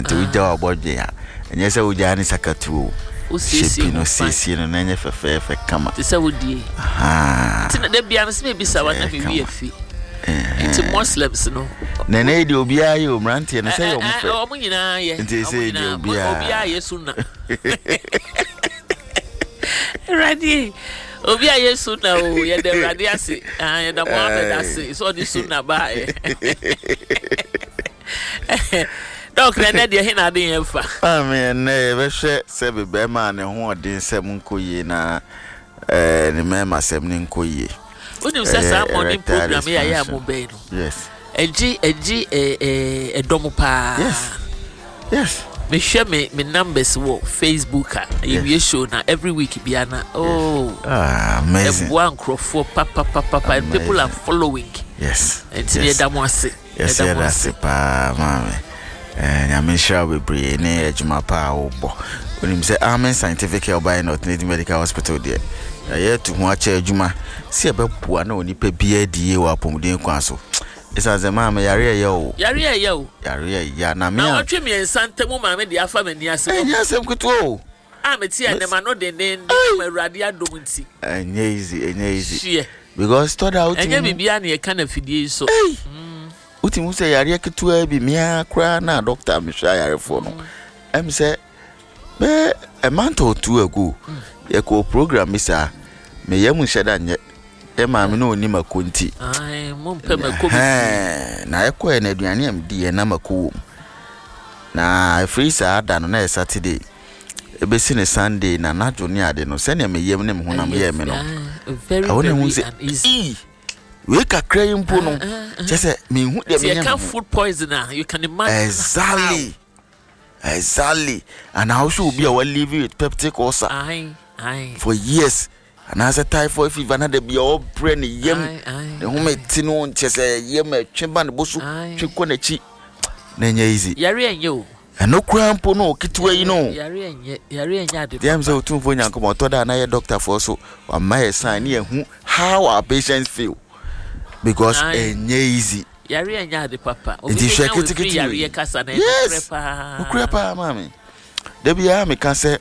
Nti wogya wabɔdwe a, ɛnyɛ sɛ wogyaa ne sakatuo o. Shape no, siesie no na ɛnyɛ fɛfɛɛfɛ kama. Te sɛ wodie. Nti na da bia no sɛ mebisa wa na mewi afi. Nti Muslims no. Na ɛnɛ yi deɛ obiara yɛ o, mmeranteɛ no sɛ yɛ ɔmo fɛ. Ɔmo nyinaa yɛ. Nti sɛ deɛ obiara. Obiara yɛ sunna. Awurade, obi a yɛ sunna o, yɛda Awurade ase. Ah, yɛda Mohammed ase sɛ ɔde sunna baeɛ. Doc, na ɛnɛ deɛ he na ade yɛn fa? Maame, ɛnɛ yɛbɛhwɛ sɛ bɛrima a ne ho ɔden sɛm nkɔ yie na ne mmarima sɛm ne nkɔ yie. Wonim sɛ saa morning program yi a yɛ a mo bɛn no. Yes. Ɛgye ɛdɔm paa. Yes. Mehwɛ me numbers wɔ Facebook a yɛwie show na every week bia na, oh. Ah, amazing. Ɛboa nkurɔfoɔ papapapa and people are following. Nti yɛda mo ase. Yɛsɛ yɛda ase paa, maame. Nyame nhyira wo bebree ne adwuma paa a wobɔ. Wonim sɛ Amen Scientific Herbal and Alternative Medical Hospital deɛ, yɛayɛ atu ho akyɛ adwuma sɛ yɛbɛboa na onipa biara di yie wɔ apɔmuden kwan so. Ɛsiane sɛ, maame, yare ɛyɛ o. Yare ɛyɛ o. Yare ɛyɛ na me a. Na ɔtwe 3 ntam maame de afa m'ani ase. Ɛnyɛ asɛm ketewa o. A mete a nɛma no dendenden ma Awurade adom nti. Ɛnyɛ easy, ɛnyɛ easy. Hyeɛ. Because tɔda wotumi. Ɛnyɛ biribiara na yɛka na fidie yi so. Wotumi sɛ yareɛ ketewa bi mea koraa na doctor mehwɛ ayarefoɔ no. Ɛm sɛ bɛɛ a month or two ago, yɛkɔ program bi saa, meyɛ mu nhyɛ da nyɛ. Yɛ maame no ɔni mako nti. Mompɛ mako bi. Na ɛkɔɛ na aduane a medi yɛ na mako wɔ mu. Na ɛfiri saa da no na yɛ Saturday. Ebesi ne Sunday na anadwo ne ade no, sɛnea meyam ne me honam yɛɛ me no. Ɛwɔ ne ho sɛ ii wei kakra yi mpo no, kyɛ sɛ mehu deɛ menya me ho. Food poison a, you can imagine. Exactly, and also obi a wa live with peptic ulcer for years anaasɛ typhoid fever na da bi a ɔbrɛ ne yam, ne ho te no, nkyɛ sɛ yam ɛtwe ba ne bo so, twe kɔ n'akyi na ɛnyɛ easy. Yare ɛnyɛ o. Ɛno koraa mpo no ketewa yi no. Yare ɛnyɛ, yare ɛnyɛ ade. Deɛ sɛ Otumfoɔ Nyankopɔn ɔtɔ da na yɛ doctorfoɔ so wama yɛ sign ne yɛhu how our patients feel because ɛnyɛ easy. Yare ɛnyɛ ade papa. Nti hwɛ ketekete. Yareɛ kasa na yes, paa. Nokorɛ paa, maame. Da biara meka sɛ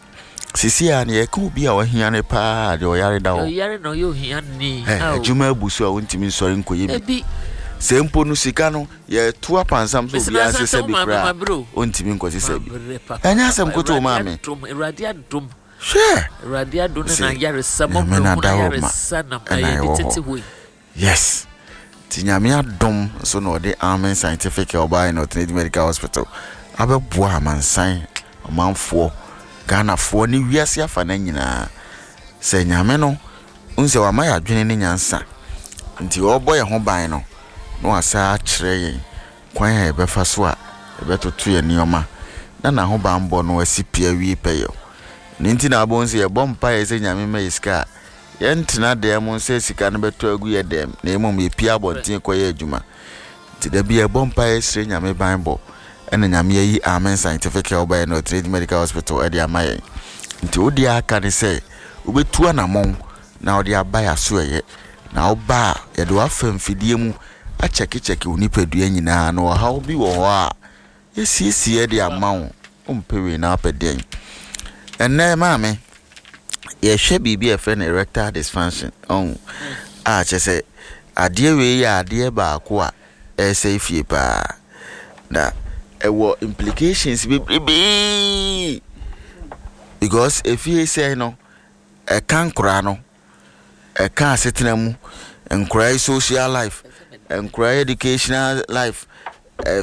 sisi a ne yɛka obi a wahia no paa deɛ, ɔyare da hɔ. Ɔyare na ɔyɛ ohia ni. Adwuma abu so a wontumi nsɔre nkɔyɛ bi. Sɛ mpo no sika no yɛto apansam so obiara nsesa bi koraa, ɔntumi nkɔsesa bi. Ɛnyɛ asɛm koto, maame. Awurade adom. Hwɛ. Awurade adom ne na yaresa Nyame mɔbrɛ na hu na da hɔ ma yaresa na ɛna ɛyɛ de ɛwɔ tete hɔ. hɔ yi. Yes, nti Nyame adom so na ɔde Amen Scientific Herbal and Alternative Medical Hospital abɛboa amansan, ɔmanfoɔ, Ghanafoɔ ne wiase afa no nyinaa. Sɛ Nyame no wohu sɛ wama yɛ adwene ne nyansa nti ɔrebɔ yɛn ho ban no na wasa akyerɛ yɛn kwan a yɛbɛfa so a yɛbɛtoto yɛn nneɛma na n'ahobanbɔ no asi pia wie pɛyɛ. Ne nti na abɔn sɛ yɛbɔ mpaeɛ sɛ Nyame ma yɛ sika a, yɛntena dan mu sɛ sika no bɛtɔ agu yɛ dɛm, na mmom yɛpie abɔnten kɔyɛ adwuma. Nti da bi yɛbɔ mpaeɛ srɛ Nyame banbɔ, ɛna Nyame ayi Amen Scientific Herbal and Alternative Medical Hospital ɛde ama yɛn. Nti wo deɛ aka ne sɛ wobɛtu anammɔn na wode aba yɛ aso ɛyɛ na woba a, yɛde wafa mfidie mu akyɛkekyɛke wo nipadua nyinaa na ɔhaw bi wɔ hɔ a yɛsiesie de ama wo. Wompɛ wei na wopɛ deɛn? Ɛnnɛ, maame, yɛhwɛ biribi a yɛfrɛ no erectile dysfunction ɔn a kyerɛ sɛ adeɛ wei yɛ adeɛ baako a ɛresɛe fie paa na ɛwɔ implications bebrebee because efie sɛe no, ɛka nkoraa no, ɛka asetena mu, nkoraa yi social life, nkoraa yi educational life,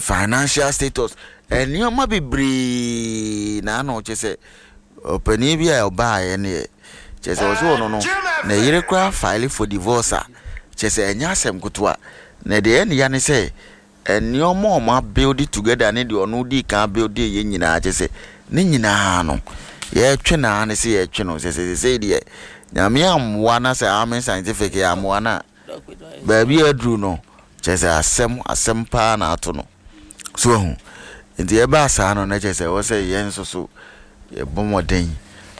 financial status, nneɛma bebree. Na ano kyerɛ sɛ ɔpanin bi a ɔbaeɛ no yɛ kyerɛ sɛ ɔsɛ ɔno no na yere koraa file for divorce a, kyerɛ sɛ ɛnyɛ asɛm ketewa. Na deɛ ɛne ya ne sɛ nneɛma a ɔmo abuild together ne deɛ ɔno di kan build yɛ nyinaa, kyerɛ sɛ ne nyinaa no yɛtwe naa ne sɛ yɛtwe no sɛ deɛ Nyame ammoa na sɛ Amen Scientific yɛ ammoa no a, baabi a aduru no kyerɛ sɛ asɛm paa na ato no so ahu. Nti ɛbaa saa no na kyerɛ sɛ ɛwɔ sɛ yɛn nso so yɛbɔ mmɔden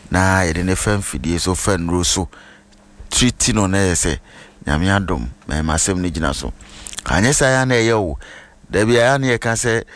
na yɛde ne fa mfidie so, fa nnuro so treat no na yɛ sɛ Nyame adom mɛma asɛm no gyina so. Anyɛ saa yɛ na ɛyɛ o, dabi a ne yɛka sɛ